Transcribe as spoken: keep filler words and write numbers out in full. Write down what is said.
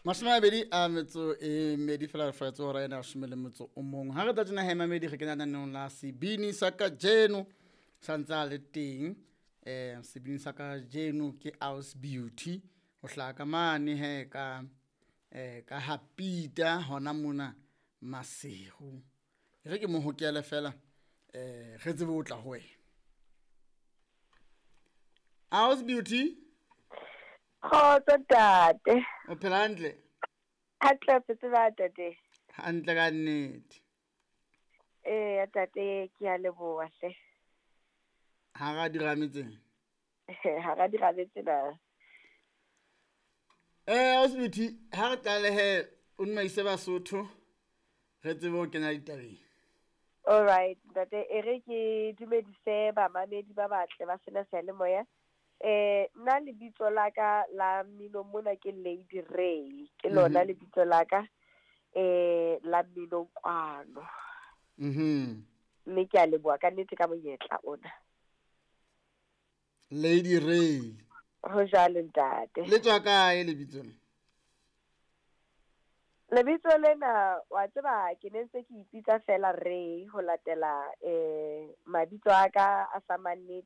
Mashome a mabedi a metso e mmedi fela re faetse hora ena ya leshome le motso o mong. Ha re tla tjena he mamedi, re kena naneong la sebini sa kajeno, sa ntse a le teng. um Sebini sa kajeno ke Aus Beauty, ho hlaha ka mane he ka um ka ha Peter hona mona Maseru. E re ke mo hokele fela, um re tsebe ho tla ho wena. Aus Beauty, Kgotso ntate. O phela hantle? Hantle, phetse ba ntate. Hantle ka nnete. Ee ntate, ke a leboha hle. Hara dirame tsena. Hara dirame tsena. Eh Aus Beauty, ha re qale he, o nmaise Basotho re tsebe ho kena ditabeng. All right ntate, e re ke dumedise bamamedi ba batle ba sena seyalemoya. Eh nna lebitso la ka la mmino mona ke Lady Ray, ke lona Mhm. lebitso la ka eh la mmino kwano. Mhm. Mme ke a leboha ka nnete ka monyetla ona. Lady Ray. Ho jwalo ntate. Le tswa kae lebitso le? Lebitso lena wa tseba ke ne ntse ke ipitsa fela Ray ho latela eh mabitso a ka a sa mannete.